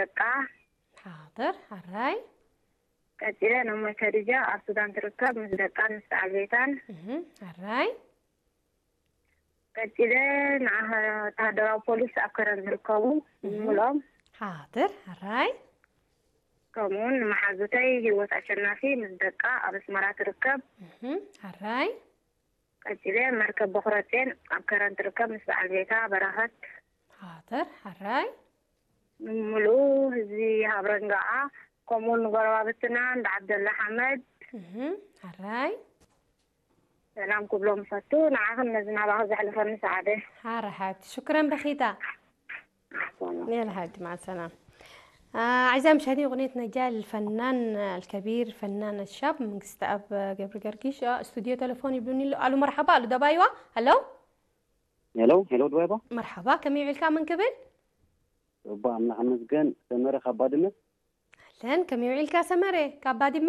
ደቃ። ሓደር፣ ሕራይ። ቀጺለ፣ ነሞይ ከዲጃ ኣብ ሱዳን ትርከብ፣ ምስ ደቃን ምስ በዓል ቤታን። እህ፣ ሕራይ። ቀጺለ፣ ንዓ-፣ ወተሃደራዊ ፖሊስ ኣብ ከረን ዝርከቡ፣ እህ። ምሉኦም። ሓደር፣ ሕራይ። ከምኡውን ንመሓዙተይ ህይወት ኣሸናፊ ምስ ደቃ ኣብ ኣስመራ ትርከብ። እህ፣ ሕራይ። ቀጺለ፣ መርከብ በኹረጼን ኣብ ከረን ትርከብ፣ ምስ በዓል ቤታ በረኸት። ሓደር፣ ሕራይ። ንምሉእ ህዝቢ ሃብረንጋኣ፣ ከምኡውን ንጎረባብትና እንዳ ዓብደላ ሓመድ። እህ፣ ሕራይ። ሰላም ክብሎም እፈቱ። ንዓኽን ነዚ ናባኺ ዘሕልፈኒ ሰዓደ። ሓረ ሓብቲ፣ ሽኩረን በኺታ። ሰላም። يلا حبيبتي، مع السلامة. آه، أعزائي المشاهدين، أغنية نجاة للفنان الكبير فنان الشاب መንግስቲ ኣብ ገብረ ገርጊሽ። آه، استوديو تليفون ይብሉኒ ኣሎ። ኣሉ፣ መርሓባ። ኣሉ፣ ደባይዋ። هلو. ሄሎ፣ ሄሎ፣ ድባይባ። መርሓባ፣ ከመይ ውዒልካ? መን ክብል? እባ ኣምላኽ ይመስገን። ሰመረ ካብ ባድመ። ኣህለን፣ ከመይ ውዒልካ ሰመረ ካብ ባድመ?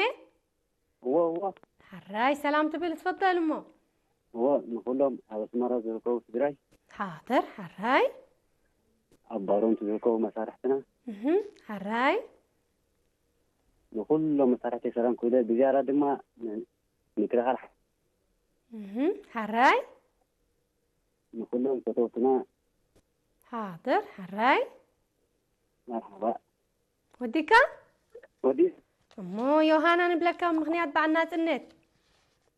እዎ፣ እዎ። ሕራይ፣ ሰላም ትብል ትፈደል እሞ። እዎ፣ ንኹሎም ኣብ ኣስመራ ዝርከቡ ትግራይ። ሓደር፣ ሕራይ። ኣብ ባሮንቱ ዝርከቡ መሳርሕትና። እህ፣ ሕራይ። ንኹሎም መሳርሕቲ ሰላም ክብለ፣ ብዝያዳ ድማ ን-፣ ምክልኻል ሓ-፣ እህ፣ ሕራይ። ንኹሎም ፈተውትና። ሓደር፣ ሕራይ። መርሓባ። ወዲካ? ወዲ። እሞ ዮሃና ንብለካ ምኽንያት በዓል ናጽነት።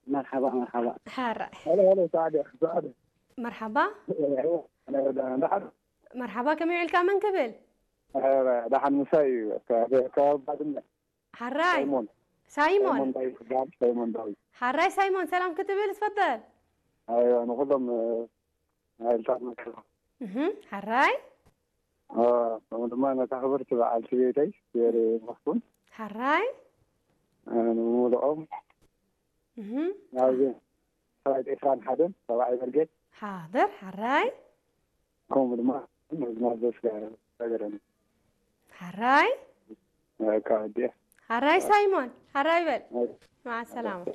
መርሓባ፣ መርሓባ። ሕራይ። ሄሎ፣ ሄሎ፣ ሰዓደ፣ ሰዓደ። መርሓባ። ሄሎ፣ ሄሎ፣ ሄሎ። መርሓባ፣ ከመይ ውዒልካ? መን ክብል? ሄሎ፣ ደሓን ምሳይ እዩ። ከ-፣ ከ-፣ ከባቢ ባድመ። ሓራይ። ሳይሞን። ሳይሞን። ሳይሞን ዳዊት ይበሃል፣ ሳይሞን ዳዊት። ሓራይ ሳይሞን፣ ሰላም ክትብል ትፈደል? ኣይዋ፣ ንኹሎም፣ እ፣ ሓይልታት መከላኸሊ። እህ፣ ሓራይ። እ፣ ከምኡ ድማ ነታ ክብርቲ በዓልቲ ቤተይ፣ ሴሪ መኽቱም። ሓራይ። እ፣ ንምሉኦም። እህ። ናብዚ ሰራዊት ዒስራን ሓደን፣ ሰብኣይ ብርጌድ። ሓደር፣ ሓራይ። ከምኡ ድማ ናዘዝ ነገረኒ። ሓራይ። በቃ ወዲአ። ሓራይ ሳይሞን፣ ሓራይ በል። ኣይ። مع السلامة.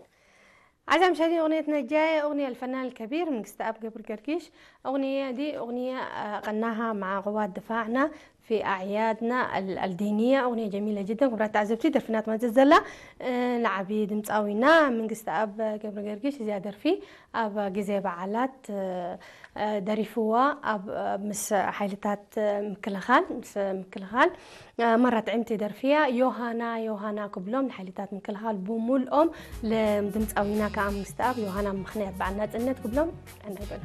أعزائي المشاهدين، أغنية نجاة، أغنية الفنان الكبير መንግስተኣብ ገብረ ገርጊሽ። أغنية دي أغنية، آه، غناها مع قوات دفاعنا في أعيادنا ال-، الدينية. أغنية جميلة جدًا. ክቡራት ተዓዘብቲ፣ ደርፊ እናተመዘዘላ፣ እ፣ ንዓቢ ድምፃዊና መንግስተኣብ ገብረ ገርጊሽ እዚኣ ደርፊ ኣብ ግዜ በዓላት፣ እ፣ እ፣ ደሪፍዋ ኣብ፣ እ፣ ምስ ሓይልታት፣ እ፣ ምክልኻል፣ ምስ ምክልኻል፣ እ፣ መራ ጥዕምቲ ደርፊ እያ። ዮሃና፣ ዮሃና ክብሎም ንሓይልታት ምክልኻል ብምልኦም ለ-፣ ድምፃዊና ከዓ መንግስተኣብ ዮሃና ምኽንያት በዓል ናፅነት ክብሎም ዕናይ በሉ።